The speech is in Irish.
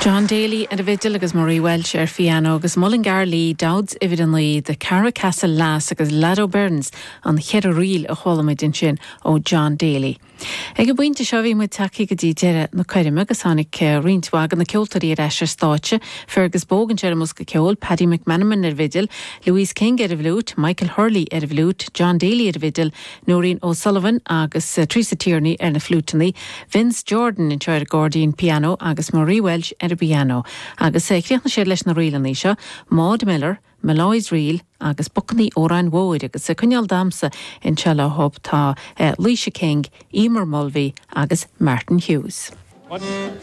John Daly ar an bhfidil agus Marie Walsh ar phiano agus Mullingar Lee Dowd's uimhir 9, The Carracastle Lass agus Lado Burns an cheithre ríl a chuala muid ansin ó John Daly. Ag an bpointe seo bhí muid tagtha go dtí deireadh na coirme agus tháinig roinnt mhaith de na ceoltóirí ar ais ar stáitse, Fergus Bogue anseo ar an mbosca ceoil, Paddy McManamon ar an bhfidil, Louise King ar an bhfliúit, Michael Hurley ar an bhfliúit, John Daly ar an bhfidil, Noreen O'Sullivan agus Teresa Tierney ar na fliúiteanna, Vince Jordan anseo ar an gcairdín pianó agus Marie Walsh ar an bpianó. Agus chríochnaigh siad leis na ríleanna seo, Maud Miller, Molloy's Reel agus Bacannaí Óráin Mhóir agus ag coinneáil damhsa anseo leo tá Laoise King, Emer Mulvey agus Martin Hughes.